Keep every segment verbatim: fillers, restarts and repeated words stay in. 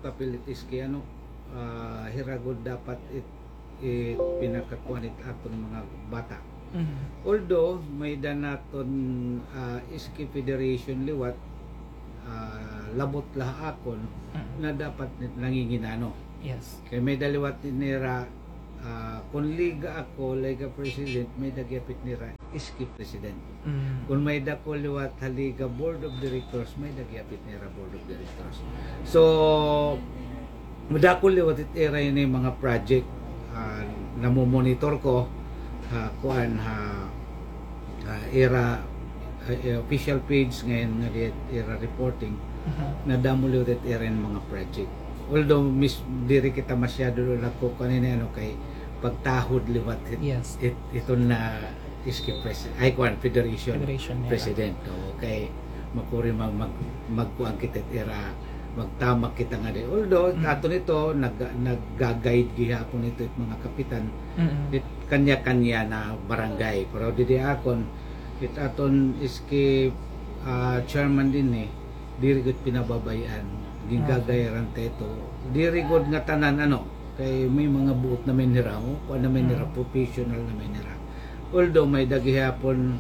Kapilit iski, ano, ah, hira gud dapat it, it pinakakuan it aton mga bata. Mhm. Although, may-ada naton, ah, iski federation liwat, ah, labot la ha akon, mhm, na dapat nanginginano. Yes. Kay may-ada liwat nira, ah, kon liga ako, liga president, may-ada gihap it nira iski president. Mm. Kon may-ada ko liwat ha liga board of directors, may-ada gihap it nira board of directors. So, madakul liwat it ira ini mga project, ah, namomonitor ko, ha, kuan, ha, ha, ira, ha, eh, official page ngay-an nga di ira reporting, mhm, nadamo liwat it ira ini mga project. Although, mis-, diri kita masyado nagkukuan ini, ano, kay pagtahod liwat it, yes, it, iton na iski pres-, ay, kuan, federation, federation nira, president. Oo, kay makuri mag-, mag-, magkuan kita it ira, magtamak kita ngadi. Although, mm, aton ito, nag-, nagga-guide gihapon ito it mga kapitan, mm-mm, it kanya-kanya na barangay. Pero didi akon, it aton iski, ah, chairman dinhi, diri gud pinababay-an. Gin-guide, okay, ran ta ito. Diri gud ngatanan, ano, kay may mga buot naman nira, oh, kuan naman nira, mm, professional naman nira. Although may-ada gihapon,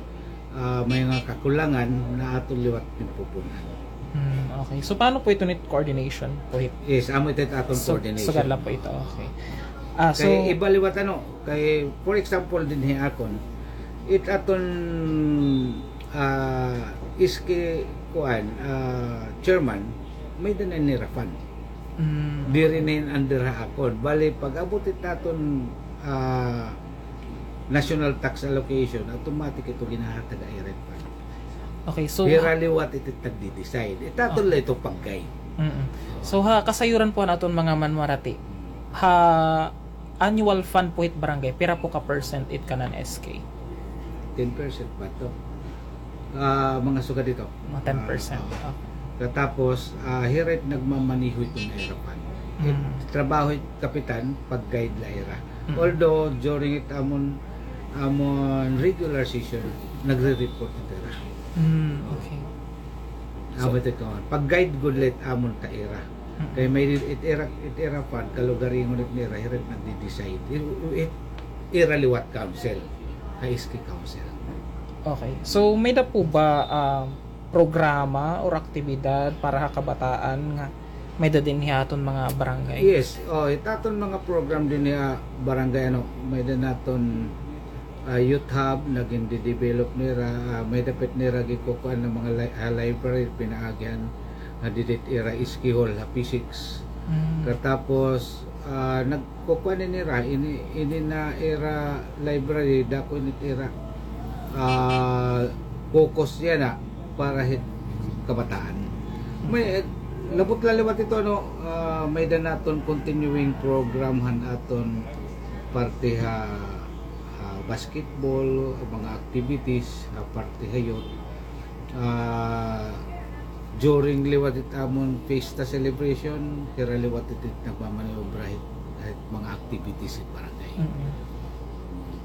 ah, may mga kakulangan na aton liwat pinupun-an. Hmm, okay. So, paano po ito nit coordination po hit? Yes, amo ito it aton, so, coordination. Sugad la po ito, okay. Ah, so, kay iba liwat, ano, kay, for example, dinhi akon, it aton, ah, iski, kuan, ah, chairman, may-ada na nira fund. Mm. Diri na ini under ha akon. Bali, pag-abot it aton, ah, national tax allocation, automatic ito ginahatag ha ira it fund. Okay, so, hira liwat ito nagdi-decide. It aton la ito pag-guide. Mm-mm. So, ha kasayuran po han aton mga manmarati, ha annual fund po hit barangay, pira po ka percent it kanan S K? Ten percent ba ito? Ah, mga sugad ito. Mga ten percent. Ah, okay. Katapos, ah, hira it nagmamaneho iton ira fund. It, mm, trabaho it kapitan, pag-guide la ira. Mm. Although, during it amon, amon regular session, nagre-report it ira. Mm, okay. Amo ito, pag-guide gud la it amon ha ira. Mm. Kay may it ira, it ira fund, kalugaringon it nira, hira it nagdi-decide. It, it ira liwat council, ha S K council. Okay. So, may-ada po ba, ah, programa or aktibidad para ha kabataan nga may-ada dinhi ha aton mga barangay? Yes. Oh, it aton mga program dinhi ha barangay, ano, may-ada naton ah, youth hub na gindi-develop nira, ah, may-ada pa it nira ginkukuan nga mga li-, ah, library, pinaagi han, ah, didi it ira S K hall, ha P six. Mm. Katapos, ah, nagkukuan ini nira, ini, ini na ira library, dako ini it ira, ah, focus yana para hit kabataan. May, eh, labot la liwat ito, ano, ah, may-ada naton continuing program han aton parte ha ah, basketball, mga activities, ah, parte ha youth. Ah, during liwat it amon fiesta celebration, hira liwat it nagmamaniobra hit, hit mga activities hit barangay. Mm-mm.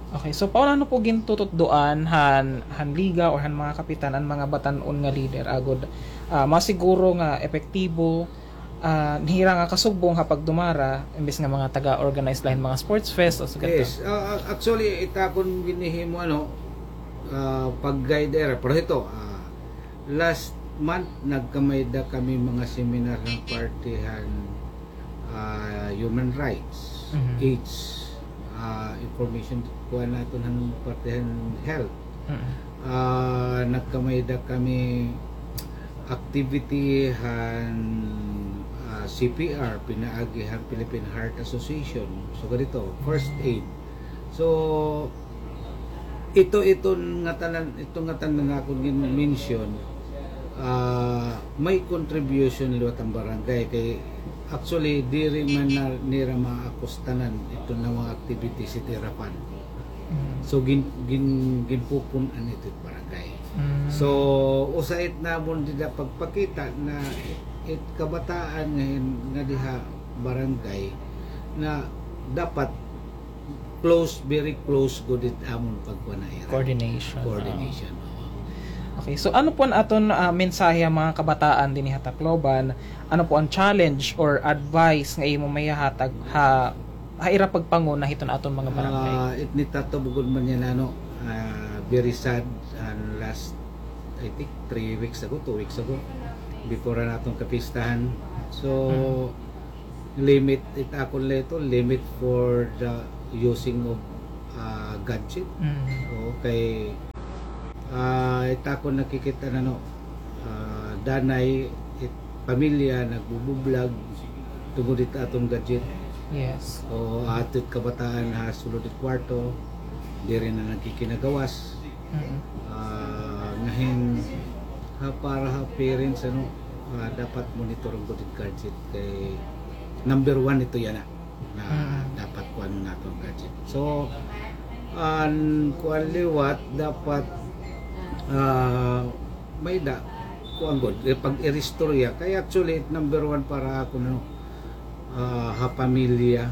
Okay, so paano po gintututdoan han, han liga or han mga kapitan an mga batan-on nga leader agod, ah, masiguro nga epektibo ah, hira nga kasugbong ha pagdumara, imbes nga mga taga-organize la hin mga sports fest o sugad. Yes, ah, ah, actually, it akon ginhihimo, ano, ah, pag-guide ira. Pero ito, ah, last month, nagkamay-ada kami mga seminar han parte han, ah, human rights, mhm, AIDS, ah, information, kuan naton han parte han health. Mm. Ah, nagkamay-ada kami activity han, ah, C P R, pinaagi han Philippine Heart Association. So, ganito, first aid. So, ito, ito nga tanan, ito nga tanan nga akon gin-mention, ah, may contribution liwat an barangay. Kay, actually, diri man na, nira maakustanan ito nga mga activities it ira fund. Mm. So, gin-, gin-, ginpupun-an ito it barangay. Mm. So, usa it namon dida pagpakita na it kabataan nga hin-, nga diha barangay na dapat close, very close gud it amon pagkuan ha ira. Coordination. Coordination, oo. Okay, so ano po an aton, ah, mensahe ha mga kabataan dinhi ha Tacloban? Ano po an challenge or advice nga imo maihatag ha, ha ira pagpanguna hiton aton mga barangay? Ah, it nitatabo gud man yana, ano, ah, very sad, an last, I think, three weeks ago, two weeks ago, before an aton kapistahan. So, limit it akon la ito, limit for the using of, ah, gadget. Mm. Okay. Ah, it akon nakikita na, no, ah, danay it pamilya nagbubublog tungod it aton gadget. Yes. O aton kabataan ha sulod it kwarto, diri na nagkikinagawas. Mm. Ah, ngahin, ha, para ha parents, ano, ah, dapat monitor gud it gadget kay number one ito yana na dapat kuan naton gadget. So, an kuan liwat dapat, ah, may da, kuan gud, eh, pag-iristorya. Kay actually, number one para ako, no, ah, ha pamilya,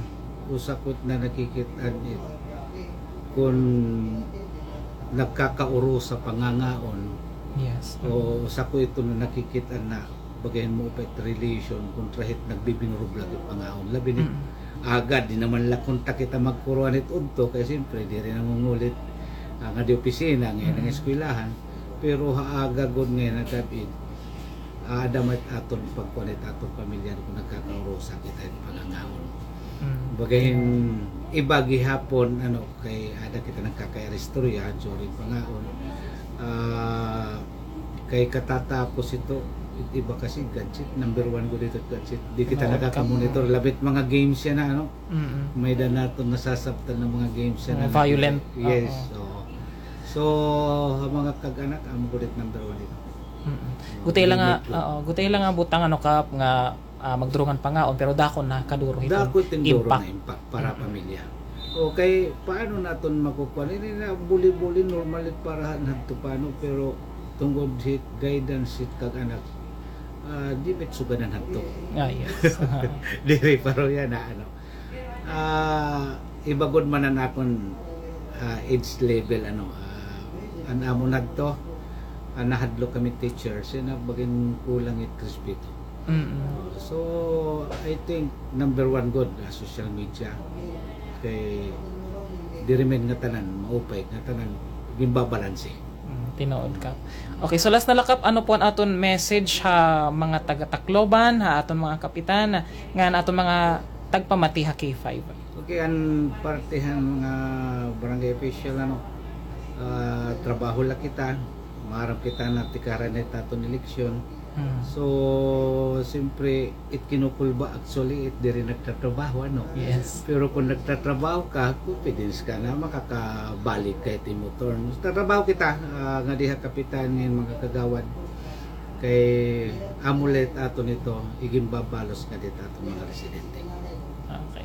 usa ko it na nakikit-an it kun nagkakaurusa pangangaon. Yes. O usa ko ito na nakikit-an na bagayan mo pa it relation kontra hit nagbibinurublag it pangaon. Labi na it aga, di naman la kontra kita magkuruan it udto, kay siyempre, diri nangungulit, ah, ngadi opisina, ngadi eskwelahan. Pero ha aga gud ngadi ha gab-i, aada man it aton pagkuan it aton pamilya kun nagkakaurusa kita it pangangaon. Mm. Bagayan iba gihapon, ano, kay aada kita nagkakairistorya during pangaon. Ah, kay katatapos ito, it iba kasi gadget, number one gud ito gadget. Di kita nakaka-monitor, labi it mga games yana, ano? Mm. May-ada naton nasasabtan nga mga games yana. Mga violent. Yes, oo. So, ha mga kag-anak, amo gud it number one ito. Mm. Gutiay la nga, oo, gutiay la nga butang, ano, Kap, nga, ah, magdurungan pangaon, pero dako na kaduro hiton impact. Dako it duro na impact para pamilya. Okay, paano naton makukuan? Ini na buli-buli, normal it para hadto pa, no? Pero tungod hit guidance hit kag-anak, ah, di bit sugadan hadto. Ah, yes. Diri pa ro yana, ano. Ah, iba gud man an akon, ah, age level, ano, ah, an amon hadto, ah, nahadlok kami teacher, siring na bagayan kulang it respeto. Mm. So, I think number one gud, ah, social media. Kay diri man ngatanan maupay, ngatanan ginbabalanse. Mm, tinuod, Kap. Okay, so last na la, Kap, ano po an aton message ha mga taga-Tacloban, ha aton mga kapitan, ngan aton mga tagpamati ha K five? Okay, an parte han mga barangay official, ano, ah, trabaho la kita, maaram kita na tikaran it aton eleksyon. Mm. So, siyempre, it kinukulba, actually, it diri nagtatrabaho, ano? Yes. Pero kun nagtatrabaho ka, confidence ka na makakabalik ka hit imo turn. Tatrabaho kita, ah, ngadi ha kapitan ngan mga kagawad. Kay amo la it aton ito, iginbabalos ngadi ha aton mga residente. Okay.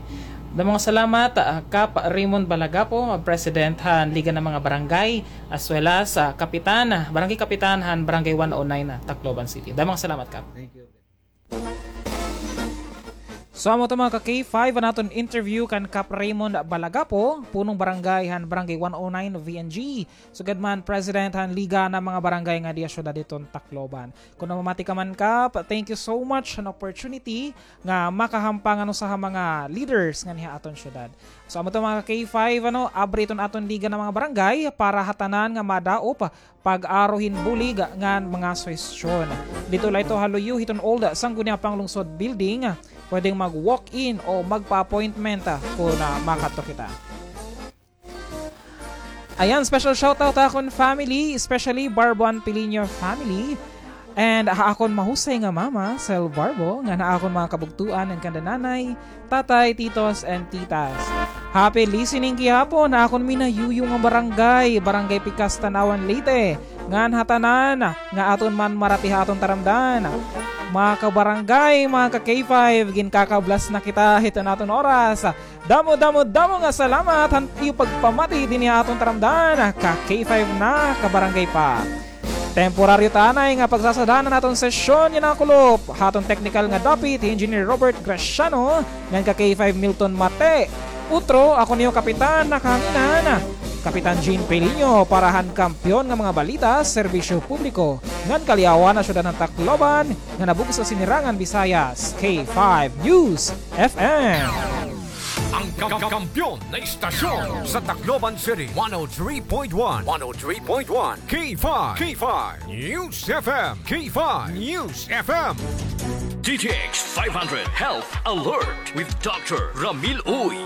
Damo nga salamat, ah, Kap Raymond Balagapo, President han Liga ng mga Barangay, as well as, ah, Kapitan, ah, Barangay Kapitan han Barangay one oh nine, ah, Tacloban City. Damo nga salamat, Kap. Thank you. So, amo ito, mga ka-K five, an aton interview kan Kap Raymond Balagapo, punong barangay han Barangay one oh nine V N G. Sugad man, President han Liga ng mga Barangay ngadi ha syudad hiton Tacloban. Kon namamati ka man, Kap, thank you so much han opportunity nga makahampang han usa ha mga leaders nganhi ha aton syudad. So, amo ito, mga ka-K five, ano, abri iton aton Liga ng mga Barangay para ha tanan nga madaop pag-aro hin bulig ngan mga suhestyon. Didto la ito ha luyo hiton Old Sangguniang Panglungsod Building. Pwedeng mag-walk-in o magpa-appointment, ah, kon, ah, makadto kita. Ayan, special shoutout ha akon family, especially Barbo and Piliño family. And ha akon mahusay nga mama, Sel Barbo, ngan ha akon mga kabugtoan ngan kanda nanay, tatay, titos, and titas. Happy listening gihapon ha akon minayuyo nga barangay, Barangay Pikas, Tanauan, Leyte. Ngan ha tanan nga aton man marati ha aton taramdan. Mga kabarangay, mga ka-K five, ginkakablas na kita hiton aton oras. Damo, damo, damo nga salamat han iyo pagpamati dinhi ha aton taramdan, ka-K five na, kabarangay pa. Temporaryo ta anay nga pagsasadaan han aton sesyon yana, kulop, ha aton teknikal nga dapit, hi Engineer Robert Graciano, ngan ka-K five Milton Mate. Utro, ako niyo kapitan, nakahanginan. Kapitan Jean Peliño para han kampiyon nga mga balita, serbisyo publiko, ngan kaliawan ha syudad han Tacloban, nga nabugso sinirangan Visayas, K five News F M. Ang ka-, ka-, kampiyon na istasyon sa Tacloban City, one oh three point one, one oh three point one, K five, K five News F M, K five News F M. D T X five hundred Health Alert with Doctor Ramil Uy.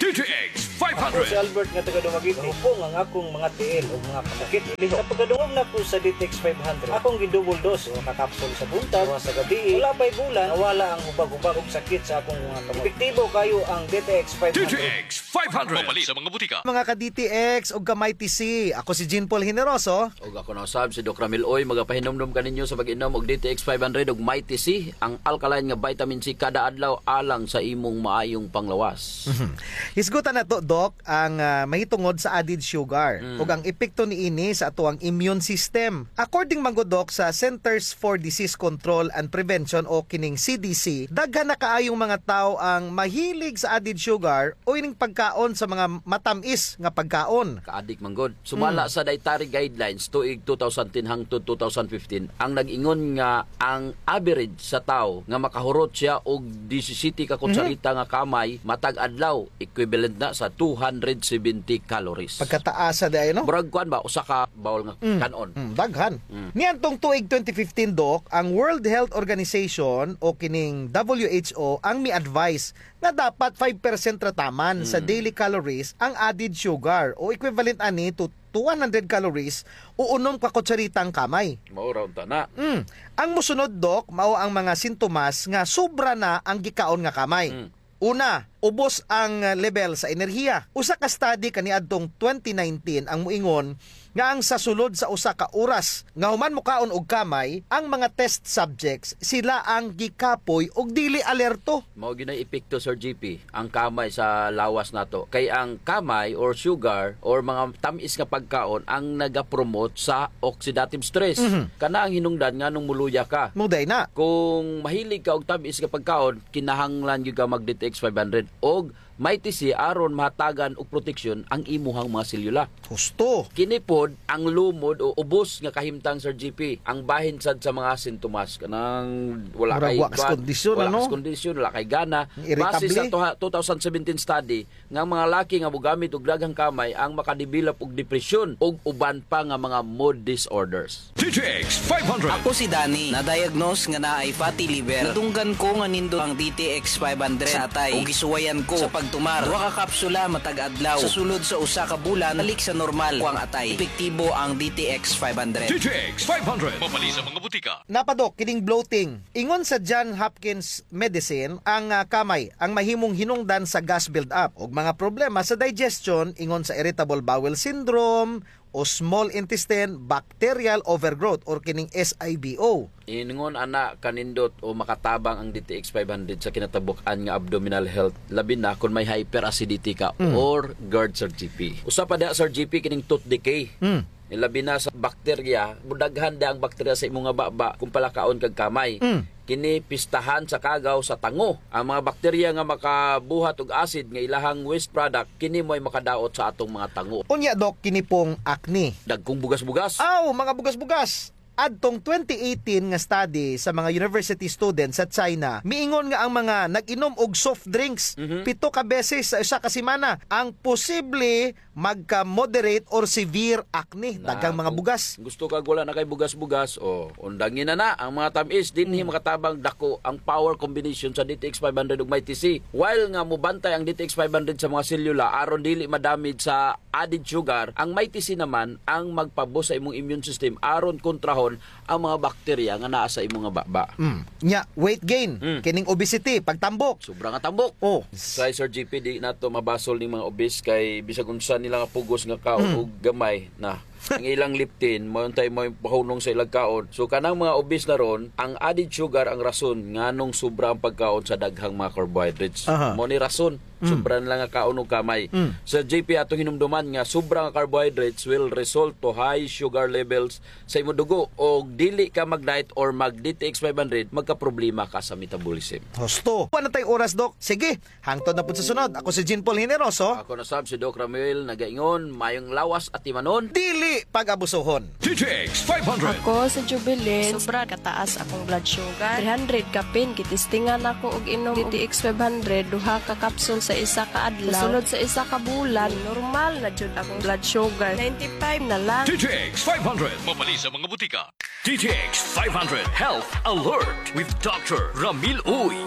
D T X five hundred. Ako si Albert nga taga Dumaguete. Hupong ang akong mga tiil ug mga kasakit. Sa pagkadungog nako sa D T X five hundred, akong gi-double dose, usa ka kapsul sa buntag, usa sa gabii. Wala pa'y bulan, nawala ang hubag-hubag ug sakit sa akong mga kamot. Epektibo kaayo ang D T X five hundred. D T X five hundred. Mapalit sa mga butika. Mga ka-D T X ug ka-Mighty C, ako si Jean Paul Generoso. Ug ako na usab si Doc Ramil Uy, magapahinumdom kaninyo sa pag-inom og D T X five hundred ug Mighty C, ang alkaline nga vitamin C kada adlaw alang sa imong maayong panglawas. Mhm. Hisgutan nato, Doc, ang, ah, mahitungod sa added sugar Mm. ug ang epekto niini sa atoang immune system. According man gud, Doc, sa Centers for Disease Control and Prevention o kining C D C, daghan na kaayong mga tawo ang mahilig sa added sugar o ining pagkaon sa mga matam-is nga pagkaon. Kaadik man gud. Sumala Mm. sa dietary guidelines tuig two thousand ten hangtod two thousand fifteen, ang nag-ingon nga ang average sa tawo nga makahurot siya og disisiyete ka Mhm. kutsarita nga kamay matag adlaw, equivalent na sa two hundred seventy calories. Pagkataasa diay, no? Murag kuan ba, usa ka bowl nga Mm. kan-on. Mm, daghan. Mm. Niadtong tuig twenty fifteen, Doc, ang World Health Organization o kining W H O ang mi-advise nga dapat five percent ra taman sa Mm. daily calories ang added sugar o equivalent ani to, to one hundred calories o unom ka kutsaritang kamay. Mao ra unta na. Mm. Ang mosunod, Doc, mao ang mga sintomas nga sobra na ang gikaon nga kamay. Mm. Una, ubos ang level sa enerhiya. Usa ka study kaniadtong twenty nineteen ang moingon nga ang sa sulod sa usa ka oras nga human mokaon og kamay, ang mga test subjects, sila ang gikapoy ug dili alerto. Mao gyud nay epekto, Sir G P, ang kamay sa lawas nato. Kay ang kamay or sugar or mga tam-is nga pagkaon ang nagapromote sa oxidative stress. Mhm. Kana ang hinungdan nganong moluya ka. Mao diay na. Kung mahilig ka og tam-is nga pagkaon, kinahanglan gyud ka mag D T X five hundred og Mighty C aron mahatagan og proteksyon ang imuhang mga selula. Husto. Kini pod ang lumod o ubos nga kahimtang, Sir G P, ang bahin sad sa mga sintomas. Kanang wala Murag kay wa kas kuan, kondisyon, wala ano? kas kondisyon, wala kay gana. Irritable. Base sa tuha-, two thousand seventeen study, nga mga laki nga mogamit og daghang kamay ang makadevelop og depresyon ug uban pa nga mga mood disorders. D T X five hundred. Ako si Danny, na-diagnose nga naay fatty liver. Nadunggan ko nga nindot ang D T X five hundred sa atay. Ug gisuwayan ko sa pagtumar. Duha ka kapsula matag adlaw. Sa sulod sa usa ka bulan, balik sa normal ko ang atay. Epektibo ang D T X five hundred. D T X five hundred. Mapalit sa mga butika. Napadok, kining bloating. Ingon sa John Hopkins Medicine, ang, ah, kamay ang mahimong hinungdan sa gas build-up ug mga problema sa digestion, ingon sa irritable bowel syndrome o small intestine bacterial overgrowth or kining S I B O. Ingon ana kanindot o makatabang ang D T X five hundred sa kinatabuk-an nga abdominal health, labi na kon may hyperacidity ka Mm. or GERD, Sir G P. Usa pa diha, Sir G P, kining tooth decay. Mm. Labi na sa bakterya, mudaghan diha ang bakterya sa imo nga baba kung palakaon kag kamay. Mm. Kini pistahan sa kagaw sa tango. Ang mga bakterya nga makabuhat og acid nga ilahang waste product, kini mo'y makadaot sa atong mga tango. Unya, Doc, kini pong acne. Dagkong bugas-bugas. Aw, mga bugas-bugas. Adtong twenty eighteen nga study sa mga university students sa China, miingon nga ang mga nag-inom og soft drinks Mhm. pito ka beses sa usa ka semana ang posible magka-moderate or severe acne. Na, Daghang mga kung bugas. gusto kag wala na kay bugas-bugas, o, undangi na na ang mga tam-is, dinhi Mm. makatabang dako ang power combination sa D T X five hundred ug Mighty C. While nga mobantay ang D T X five hundred sa mga selula aron dili madamage sa added sugar, ang Mighty C naman ang magpa-boost sa imong immune system aron kontrahon ang mga bakterya nga naa sa imo nga baba. Mm. Nya, weight gain, Mm. kining obesity, pagtambok. Sobra nga tambok. Oh. Kay Sir G P, di nato mabasol ning mga obese kay bisag unsa nila nga pugos nga kaon Mm. og gamay na. Ang ilang leptin, mao untay maoy pahunong sa ilang kaon. So, kanang mga obese na ron, ang added sugar ang rason nganong sobra ang pagkaon sa daghang mga carbohydrates. Aha. Mao ni rason, mm, sobra na lang nga kaon og kamay. Mm. Sir J P, atong hinumduman nga sobra nga carbohydrates will result to high sugar levels sa imo dugo. Og dili ka mag-diet or mag-D T X five hundred, magkaproblema ka sa metabolism. Husto. Wala na tay oras, Doc. Sige, hangtod na pud sa sunod. Ako si Jean Paul Generoso. Ako na sab si Doc Ramuel, nagaingon, mayong lawas at timanon. Dili pag-abusohon. D T X five hundred. Ako si Jubilin. Sobra kataas akong blood sugar. Three hundred kapin, gitistingan ako og inom D T X five hundred, duha ka capsule sa isa ka adlaw. Sulod sa isa ka bulan, normal na jud akong blood sugar. Ninety-five na lang. D T X five hundred. Mapalit sa mga butika. D T X five hundred Health Alert with Doctor Ramil Uy.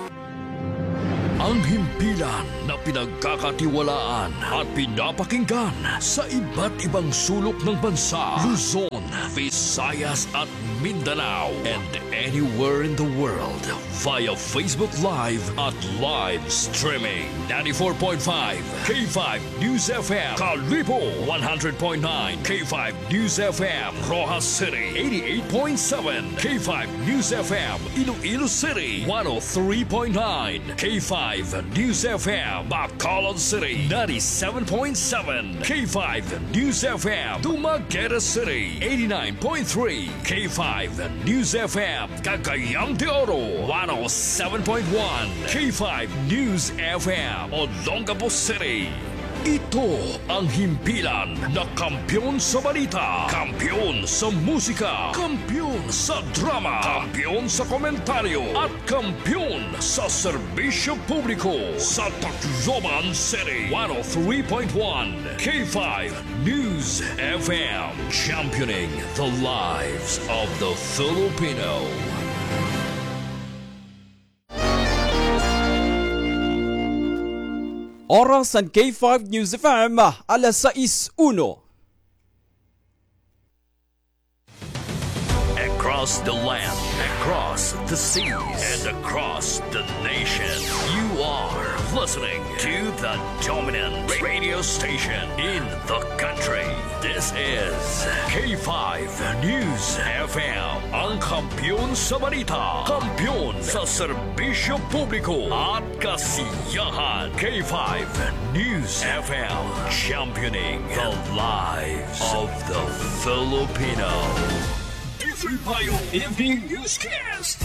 Ang himpilan na pinagkakatiwalaan at pinapakinggan sa iba't ibang sulok ng bansa, Luzon, Visayas at Mindanao, and anywhere in the world via Facebook Live at live streaming. Ninety-four point five K five News F M, Kalibo, one hundred point nine K five News F M, Roxas City, eighty-eight point seven K five News F M, Iloilo City, one oh three point nine K five News F M, Bacolod City, ninety-seven point seven K five News F M, Dumaguete City, eighty-nine point three K five News F M, Cagayan de Oro, one oh seven point one K five News F M, Olongapo City. Ito ang himpilan na kampiyon sa balita, kampiyon sa musika, kampiyon sa drama, kampiyon sa komentaryo, at kampiyon sa serbisyo publiko sa Tacloban City. One oh three point one K five News F M, championing the lives of the Filipino. Oras han K five News F M, alas sais uno. Across the land, across the seas, and across the nation, you are listening to the dominant radio station in the country. This is K five News F M, ang kampiyon sa balita, kampiyon sa serbisyo publiko at kasiyahan. K five News F M, championing the lives of the Filipino. D three Bayo Evening Newscast.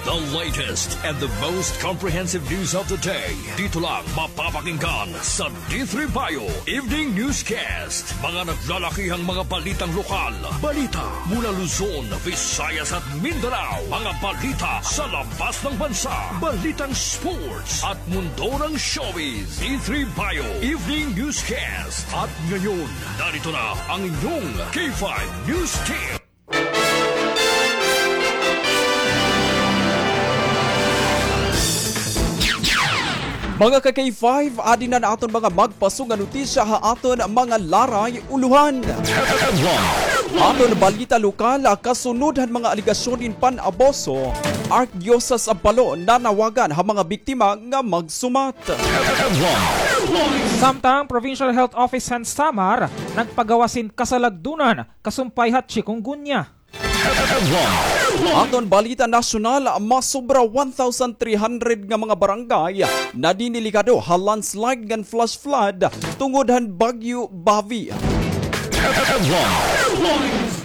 The latest and the most comprehensive news of the day. Dito lang mapapakinggan sa D three Bayo Evening Newscast. Mga naglalakihang mga balitang lokal. Balita mula Luzon, Visayas at Mindanao. Mga balita sa labas ng bansa. Balitang sports at mundo ng showbiz. D three Bayo Evening Newscast. At ngayon, narito na ang inyong K five News Tip. Mga ka-K five, adi na an aton mga magpaso nga notisya ha aton mga laray ulohan. Aton balita lokal, kasunod han mga alegasyon hin pan-abuso, Archdiocese of Palo nanawagan ha mga biktima nga magsumat. Samtang Provincial Health Office han Samar nagpagawas hin kasalagdunan kasumpay ha chikungunya. Aton balita nasyonal, masobra one thousand three hundred nga mga barangay nadinilikado ha landslide ngan flash flood tungod han Bagyo Bavi.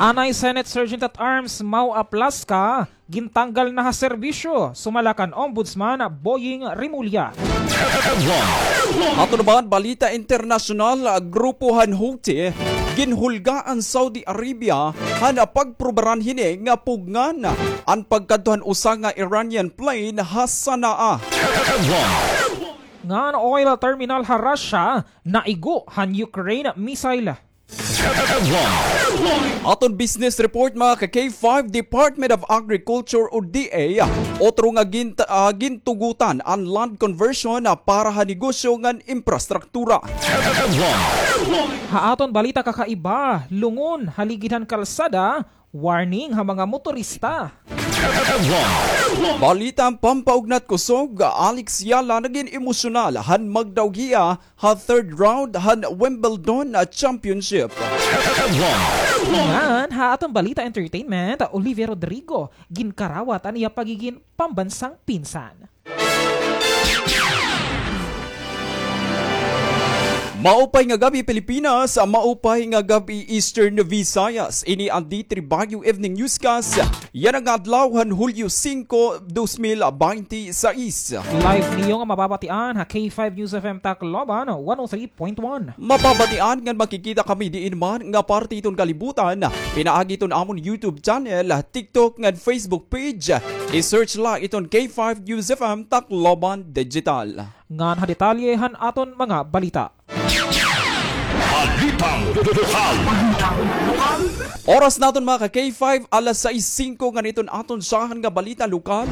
Anay Senate Sergeant at Arms Mau Aplasca gintanggal na ha serbisyo, sumala kan Ombudsman Boying Remulla. Aton naman balita internasyonal, grupo han Houthi ginhulga an Saudi Arabia han pagprobaran hini nga pugngan an pagkadto han usa nga Iranian plane ha Sana'a. Ngan oil terminal ha Russia naigo han Ukraine missile. Aton business report, mga ka-K five, Department of Agriculture o D A, otro nga gin-, ah, gintugutan an land conversion, ah, para ha negosyo ngan infrastruktura. Ha aton balita kakaiba, lungon ha ligid han kalsada, warning ha mga motorista. Balita pampaugnat kusog, Alex Yala nagin emosyonal han magdaog hiya ha third round han Wimbledon Championship. Ngan ha aton balita entertainment, Olivia Rodrigo, ginkarawat an iya pagigin pambansang pinsan. Maupay nga gab-i, Pilipinas. Maupay nga gab-i, Eastern Visayas. Ini an D three Baguio Evening Newscast. Yana nga adlaw han Hulyo singko, dos mil baynte sais. Live niyo nga mababatian ha K five News F M Tacloban, one oh three point one. Mababatian ngan makikita kami diin man nga parte hiton kalibutan, pinaagi hiton amon YouTube channel, TikTok ngan Facebook page. I-search la iton K five News F M Tacloban Digital. Ngan ha detalye han aton mga balita. Balitang lokal. Oras naton, mga ka-K five, alas sais singko, ngan iton aton syahan nga balita lokal.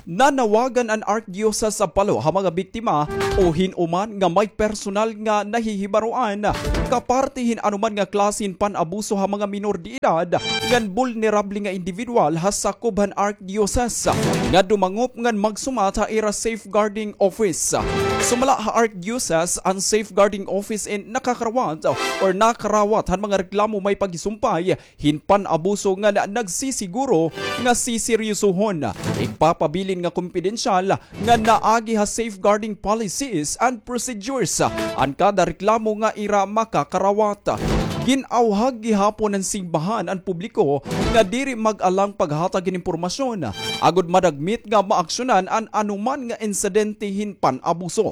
Nanawagan an Arkdiyosas sa Palo ha mga biktima o hin-o man nga may personal nga nahihibaroan kaparte hin anoman nga klase hin pan-abuso ha mga minor de edad ngan bulnerable nga individual ha sakob han Arkdiyosas nga dumangop ngan magsumat ha ira safeguarding office. Sumala ha Arkdiyosas, an safeguarding office in nakakarawat or nakarawat han mga reklamo may pagisumpay hin pan-abuso ngan nagsisiguro nga siseryosohon, igpapabilin nga kompidensyal ngan naagi ha safeguarding policies and procedures an kada reklamo nga ira makakarawat. Gin-awhag gihapon han simbahan an publiko nga diri mag-alang paghatag hin impormasyon agod madagmit nga maaksyonan an anoman nga insidente hin pan-abuso.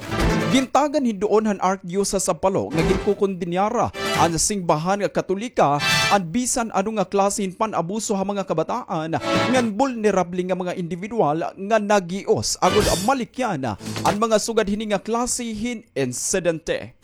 Gintagan hin duon han Arkdiyosas sa Palo nga ginkokondenar an simbahan nga Katolika an bisan ano nga klase hin pan-abuso ha mga kabataan ngan bulnerable nga mga individual nga nag-ios agod malikyan an mga sugad hini nga klase hin insidente.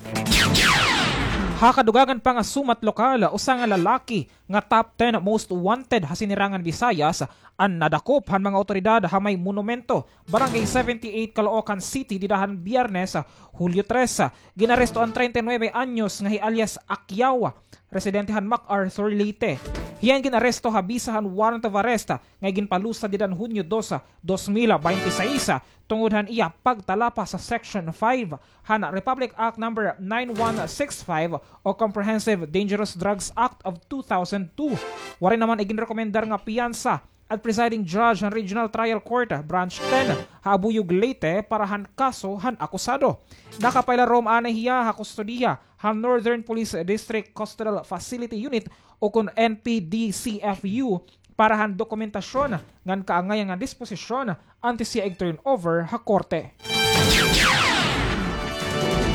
Ha kadugangan pa nga sumat lokal, usa nga lalaki nga top ten most wanted ha Sinirangan Visayas an nadakop han mga awtoridad ha may monumento, Barangay seventy-eight, Caloocan City, dida han Biyernes, Hulyo tres. Ginaresto an treinta y nueve anyos nga hi alias Acquiao, residente han MacArthur, Leyte. Hiya an gin-aresto ha bisa han warrant of arrest nga iginpalusad dida han Hunyo dos, dos mil baynte sais, tungod han iya pagtalapa sa Section five han Republic Act Number nine one six five o Comprehensive Dangerous Drugs Act of two thousand two. Waray naman iginrekomendar nga piyansa an presiding judge han Regional Trial Court, Branch ten, ha Abuyog, Leyte, para han kaso han akusado. Nakapailarom anay hiya ha kustodiya han Northern Police District Custodial Facility Unit o kon N P D C F U para han dokumentasyon ngan kaangayan nga disposisyon antes hiya ig-turn over ha korte.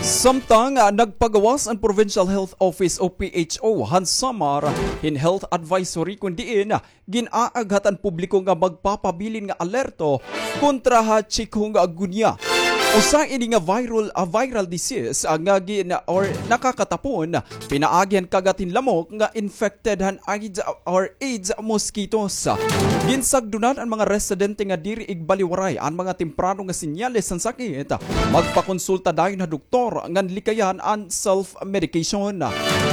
Samtang, ah, nagpagawas an Provincial Health Office o P H O han Samar hin health advisory kon diin gin-aaghat an publiko nga magpapabilin nga alerto kontra ha chikungunya. Usa ini nga viral, ah, viral disease, ah, nga gin-, or nakakatapon pinaagi han kagat hin lamok nga infected han Aedes or Aedes mosquitoes. Ginsagdonan an mga residente nga diri igbaliwaray an mga temprano nga senyales han sakit, magpakonsulta dayon ha doktor ngan likayan an self-medication.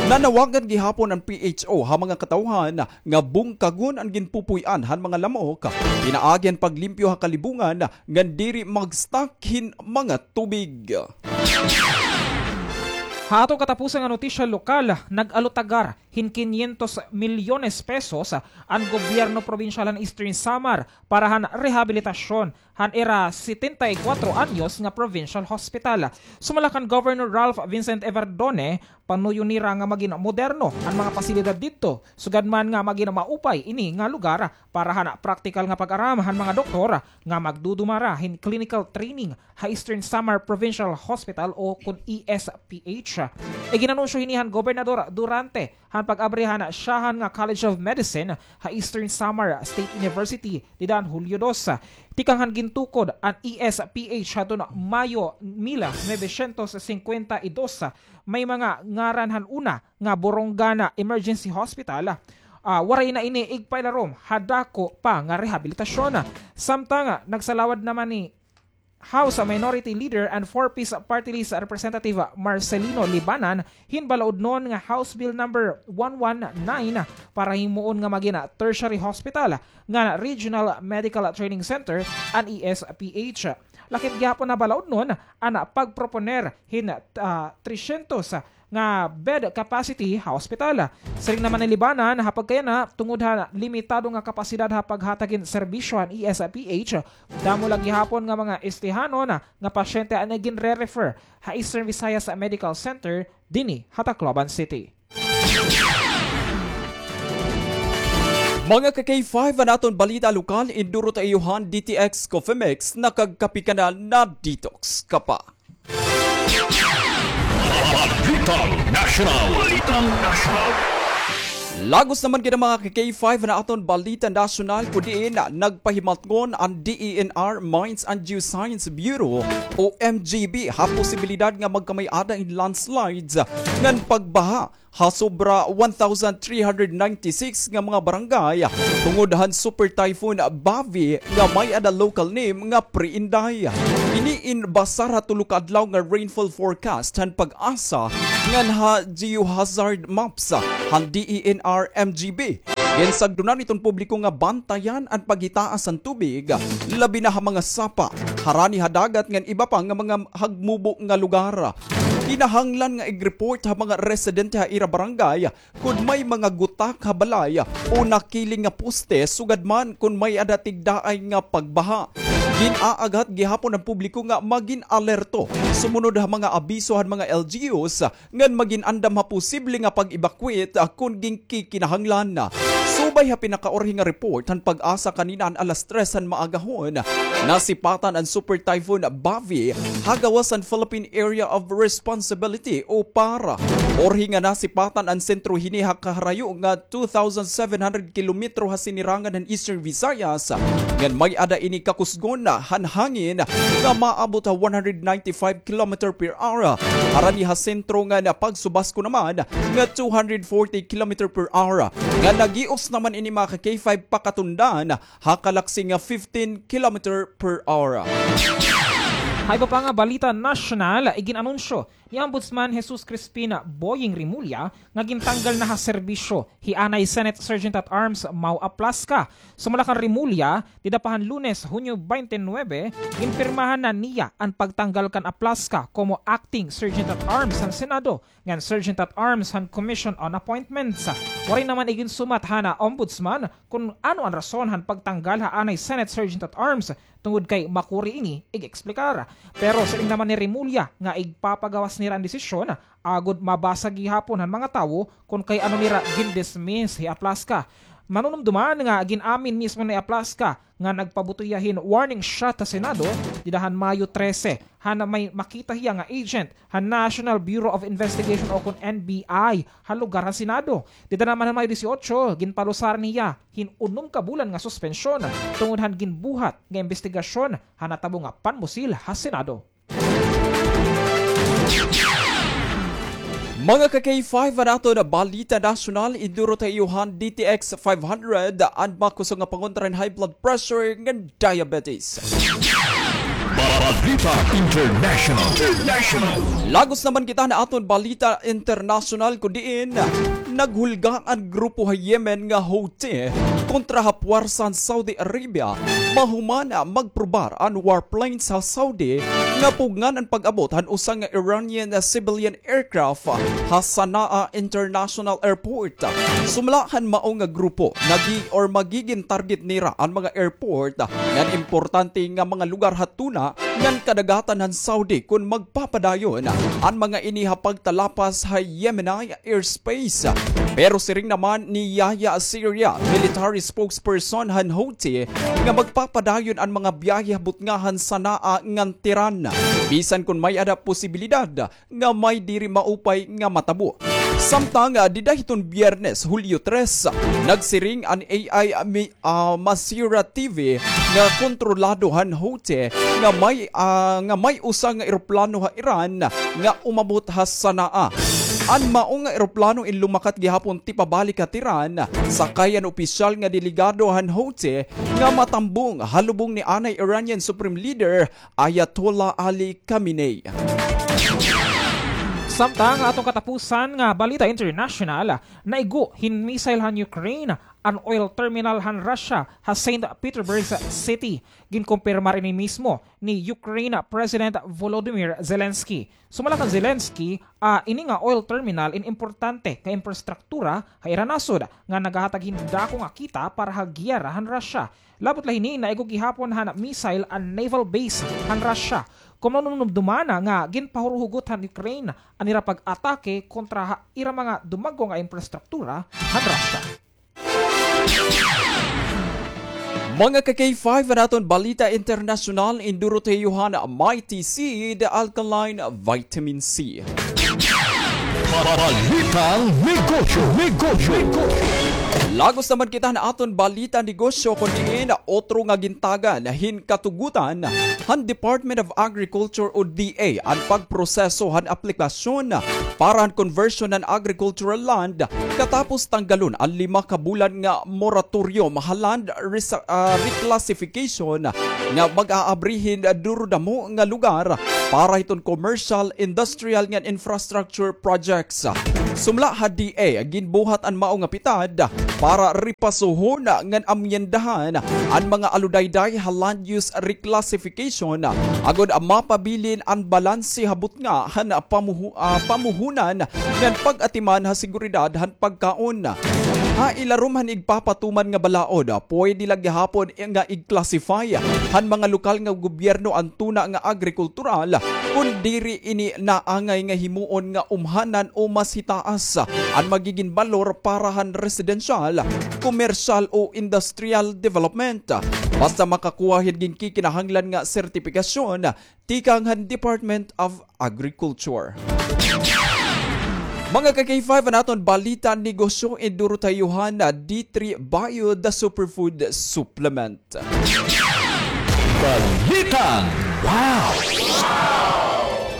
Nanawagan gihapon an P H O ha mga katawhan nga bungkagon an ginpupuy-an han mga lamok, pinaagi han paglimpyo ha kalibungan ngan diri mag-stock hin mga tubig. Ha aton katapusan nga notisya lokal, nag-alutagar hin kinyentos milyones pesos an gobyerno probinsyal han Eastern Samar para han rehabilitasyon han ira setenta y kuwatro anyos nga provincial hospital. Sumala kan Governor Ralph Vincent Evardone, panuyo nira nga magin moderno an mga pasilidad didto, sugad man nga magin maupay ini nga lugar para han praktikal nga pag-aram han mga doktor nga magdudumara hin clinical training ha Eastern Samar Provincial Hospital o kon E S P H. Iginanunsyo hini han Gobernador Durante han pag-abri han syahan nga College of Medicine ha Eastern Samar State University dida han Hulyo dos. Tikang han gintukod an E S P H hadton Mayo mil novecientos cincuenta y dos, may mga ngaran han una nga Borongan Emergency Hospital. Ah, waray na ini igpailarom ha dako pa nga rehabilitasyon. Samtang nagsalawad naman ni House Minority Leader and Four Ps Party List Representative Marcelino Libanan hin balaudnon nga House Bill number one one nine para himuon nga magin tertiary hospital ngan Regional Medical Training Center an E S P H. Lakip gihapon na balaudnon an pagproponer hin, ah, tresyentos nga bed capacity ha ospital. Siring naman ni Libanan, ha pagkayana, tungod ha limitado nga kapasidad ha paghatag hin serbisyo han E S P H, damo la gihapon nga mga Estehanon nga pasyente an ginre-refer ha Eastern Visayas Medical Center dinhi ha Tacloban City. Mga ka-K five, an aton balita lokal, induro ta iyo han D T X Coffee Mix, nakagkape ka na, na-detox ka pa. Balitang National. Balitang National. Lagos naman kita, mga ka-K five, na aton balita nasyonal, kun diin nagpahimatngon an D E N R Mines and Geoscience Bureau o M G B ha posibilidad nga magkamay-ada hin landslides ngan pagbaha ha sobra one thousand three hundred ninety-six nga mga barangay tungod han Super Typhoon Bavi nga may-ada local name nga Pre-Inday. Ini in basar ha tulo ka adlaw nga rainfall forecast han PAGASA ngan ha geohazard maps han D E N R M G B. Ginsagdonan iton publiko nga bantayan an paghitaas han tubig, labi na ha mga sapa, harani ha dagat ngan iba pa nga mga hagmubo nga lugar. Kinahanglan nga ig-report ha mga residente ha ira barangay kon may mga gutak ha balay o nakiling nga poste, sugad man kon may-ada tigdaay nga pagbaha. Gin-aaghat gihapon an publiko nga magin alerto sumunod ha mga abiso han mga L G Us ngan magin andam ha posible nga pag-evacuate, ah, kon ginkikinahanglan. Subay ha pinakaurhi nga report han PAGASA kanina han alas tres han maagahon, nasipatan an Super Typhoon Bavi ha gawas han Philippine Area of Responsibility o PAR. Urhi nga nasipatan an sentro hini ha kaharayo nga two thousand seven hundred kilometro ha sinirangan han Eastern Visayas, ngan may-ada ini kakusgon han hangin nga maabot ha one hundred ninety-five kilometer per hour. Harani ha sentro ngan pagsubasko naman nga two hundred forty kilometer per hour. Ngan nagios naman ini, mga ka-K five, pakatundan ha kalaksi nga fifteen kilometer per hour. Ha iba pa nga balita nasyonal, igin-anunsyo ni Ombudsman Jesus Crispin Boying Remulla nga gintanggal na ha serbisyo hi anay Senate Sergeant at Arms Mau Aplasca. Sumala kan Remulla, dida pa han Lunes, Hunyo twenty-nine, ginpirmahan na niya an pagtanggal kan Aplasca komo Acting Sergeant at Arms han Senado ngan Sergeant at Arms han Commission on Appointments. Waray naman iginsumat han Ombudsman kon ano an rason han pagtanggal ha anay Senate Sergeant at Arms tungod kay makuri ini ig-eksplikar. Pero siring naman ni Remulla nga igpapagawas nira an desisyon agod mabasa gihapon han mga tawo kon kay ano nira gin-dismiss hi Aplasca. Manunumduman nga gin-amin mismo ni Aplasca nga nagpabuto hiya hin warning shot ha Senado dida han Mayo trese, han may makita hiya nga agent han National Bureau of Investigation o kon N B I ha lugar han Senado. Dida naman han Mayo dieciocho, ginpalusaran hiya hin unom ka bulan nga suspensyon tungod han ginbuhat nga imbestigasyon han natabo nga panmusil ha Senado. Mga ka-K five, an aton balita nasyonal, iduro ta iyo han D T X five hundred, an makusog nga pangontra hin high blood pressure ngan diabetes. Balita International. International. Lagos naman kita han aton balita internasyonal, kun diin naghulga an grupo ha Yemen nga Houthi kontra ha puwersa han Saudi Arabia mahuman magprobar an warplanes ha Saudi nga pugngan an pag-abot han usa nga Iranian civilian aircraft ha Sana'a International Airport. Sumala han mao nga grupo, nagi-, or magigin target nira an mga airport ngan importante nga mga lugar ha tuna ngan kadagatan han Saudi kon magpapadayon an mga ini ha pagtalapas ha Yemeni airspace. Pero siring naman ni Yahya Syria, military spokesperson han Houthi, nga magpapadayon an mga biyahe ha butnga han Sana'a ngan Tehran, bisan kon may-ada posibilidad nga may diri maupay nga matabo. Samtang, ah, dida hiton Biyernes, Hulyo tres, nagsiring an A I Mi-, ah, Masira T V nga kontrolado han Houthi nga may, ah, nga may usa nga eroplano ha Iran nga umabot ha Sana'a. An mao nga eroplano in lumakat gihapon tipabalik ha Tehran, sakay an opisyal nga delegado han Houthi nga matambong ha lubong ni anay Iranian Supreme Leader Ayatollah Ali Khamenei. Samtang ha aton katapusan nga balita international, naigo hin missile han Ukraine an oil terminal han Russia ha Saint Petersburg City. Ginkumpirmar ini mismo ni Ukraine President Volodymyr Zelensky. Sumala kan Zelensky, ah, ini nga oil terminal in importante nga infrastruktura ha ira nasod nga nagahatag hin dako nga kita para ha giyera han Russia. Labot la hini, naigo gihapon han missile an naval base han Russia. Kon mahinumdoma na nga ginpahuruhugot han Ukraine an ira pag-atake kontra ha ira mga dumagko nga infrastruktura han Russia. Mga ka-K five, an aton balita internasyonal, induro ta iyo han Mighty Seed Alkaline Vitamin C. Balitang negosyo, negosyo, negosyo. Lagos naman kita han aton balita negosyo, kon diin otro nga gintagan hin katugutan han Department of Agriculture o D A an pagproseso han aplikasyon para han conversion han agricultural land katapos tanggalon an lima ka bulan nga moratorium ha land resa-, ah, reclassification nga mag-aabri hin duro damo nga lugar para hiton commercial, industrial ngan infrastructure projects. Sumala ha D A, ginbuhat an mao nga pitad para ripasuhon ngan amyendahan an mga aludayday ha land use reclassification agod mapabilin an balanse ha butnga han pamuhu-, ah, pamuhunan ngan pag-atiman ha seguridad han pagkaon. Ha ilarom han igpapatuman nga balaod, pwede la gihapon nga i-classify han mga lokal nga gobyerno an tuna nga agrikultural kon diri ini naangay nga himuon nga umhanan o mas hitaas an magigin balor para han residential, komersyal o industrial development. Basta makakuha hin ginkikinahanglan nga sertipikasyon tikang han Department of Agriculture. Mga ka-K five, an aton balita negosyo, induro ta iyo han D three Bio, the superfood supplement. Balitang wow!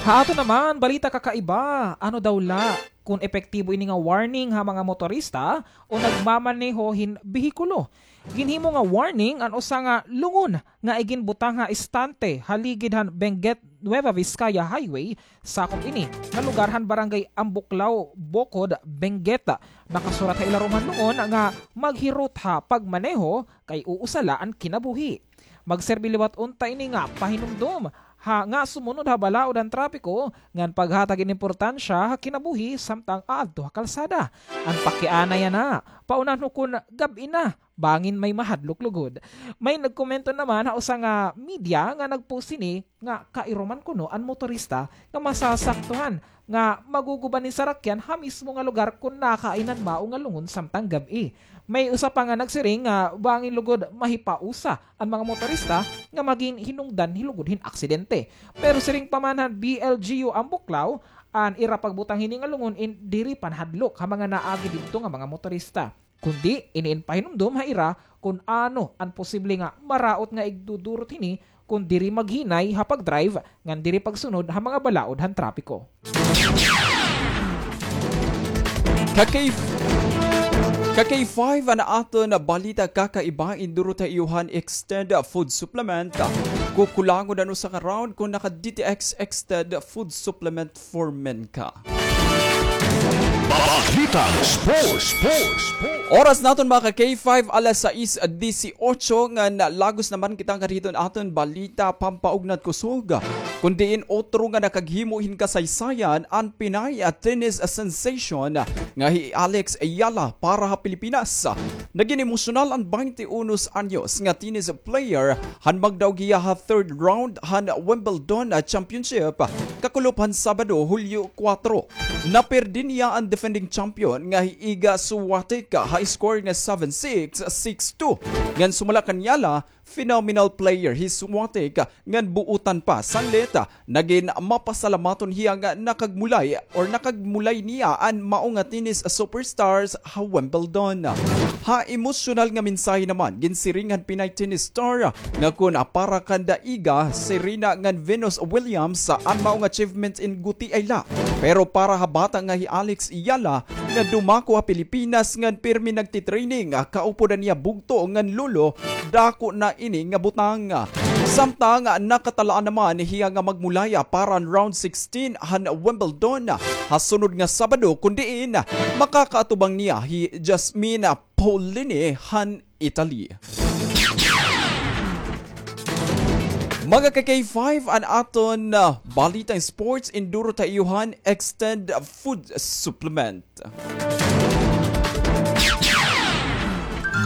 Ha aton naman balita kakaiba, ano daw la kon epektibo ini nga warning ha mga motorista o nagmamaneho hin behikulo? Ginhimo nga warning an usa nga lungon nga iginbutang ha istante ha ligid han Benguet Nueva Vizcaya Highway. Sakop ini nga lugar han Barangay Ambuklao, Bocod, Benguet. Nakasurat ha ilarom han lungon nga maghirot ha pagmaneho kay uusa la an kinabuhi. Magserbi liwat unta ini nga pahinumdom ha nga sumunod ha balaod han trapiko ngan paghatag hin importansya ha kinabuhi samtang aadto ha kalsada. An pakiana yana, paunhan ho kon gab-i na, bangin may mahadlok lugod. May nagkomento naman ha usa nga media nga nag-post hini nga kairuman kuno an motorista nga masasaktuhan nga maguguba hin sarakyan ha mismo nga lugar kon nakain an mao nga lungon samtang gab-i. May usa pa nga nagsiring nga bangin lugod mahipausa an mga motorista nga magin hinungdan hin lugod hin aksidente. Pero siring pa man han B L G U Ambuklao, an ira pagbutang hini nga lungon in diri panhadlok ha mga naagi didto nga mga motorista. Kundi, ini in pahinumdom ha ira kon ano an posible nga maraot nga igdudurot hini kon diri maghinay ha pag-drive ngan diri pagsunod ha mga balaod han trapiko. Ka-K, ka-K five, an aton balita kakaiba, induro ta iyo han Extend Food Supplement. Kukulangon an usa ka round kon naka-D T X Extend Food Supplement for Men ka. Balitang sports, sports, sports. Oras naton, mga ka-K five, alas sais disiotso, ngan lagos naman kita ngadto hiton aton balita pampaugnat kusog. Kon diin otro nga nakaghimo hin kasaysayan an Pinay tennis sensation nga hi Alex Eala para ha Pilipinas. Nagin emosyonal an baynte unos anyos nga tennis player han magdaog hiya ha third round han Wimbledon Championship kakulop han Sabado, Hulyo kuwatro. Napirdi niya an defending champion nga hi Iga Swiatek ha score nga seven six, six two. Ngan sumala kan Eala, phenomenal player hi Swatek ngan buotan pa sanglit. Nagin mapasalamaton hiya nga nakagmulay or nakagmulay niya an mao nga tennis superstars ha Wimbledon. Ha emosyonal nga mensahe naman, ginsiring han Pinay tennis star nga kun para kanda Iga, Serena ngan Venus Williams an mao nga achievement in gutiay la. Pero para ha bata nga hi Alex Eala nga dumako ha Pilipinas ngan pirmi nagtitraining, kaupod an iya bugto ngan lolo, dako na ini nga butang. Samtang nakatalaan naman hiya nga magmulaya para han round sixteen han Wimbledon ha sunod nga Sabado, kun diin makakaatubang niya hi Jasmine Paolini han Italy. Mga ka K five, an aton, ah, balitang sports, induro ta iyo han Extend Food Supplement.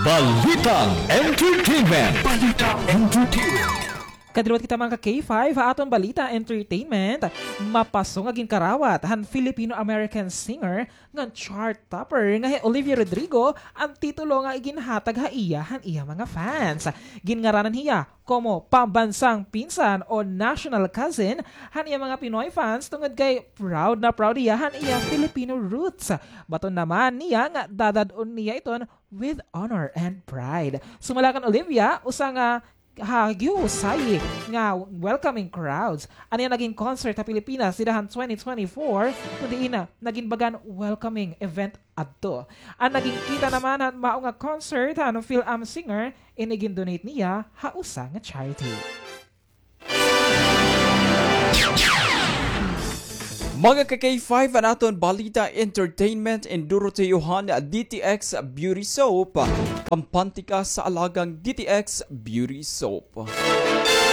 Balitang entertainment. Balitang entertainment. Kadiriwat kita, mga ka K five, ha aton balita entertainment. Mapaso nga ginkarawat han Filipino-American singer ngan chart topper nga hi Olivia Rodrigo an titulo nga iginhatag ha iya han iya mga fans. Ginngaranan hiya komo pambansang pinsan o national cousin han iya mga Pinoy fans, tungod kay proud na proud hiya han iya Filipino roots. Baton naman niya nga dadad-on niya iton with honor and pride. Sumala kan Olivia, usa nga ha gihusay nga welcoming crowds an iya nagin concert ha Pilipinas dida han twenty twenty-four, kun diin na nagin bagan welcoming event adto. An nagin kita naman han mao nga concert han Fil-Am singer, ini gin-donate niya ha usa nga charity. Mga ka K five, an aton balita entertainment, induro ta iyo han D T X Beauty Soap. Pampantika sa alagang D T X Beauty Soap.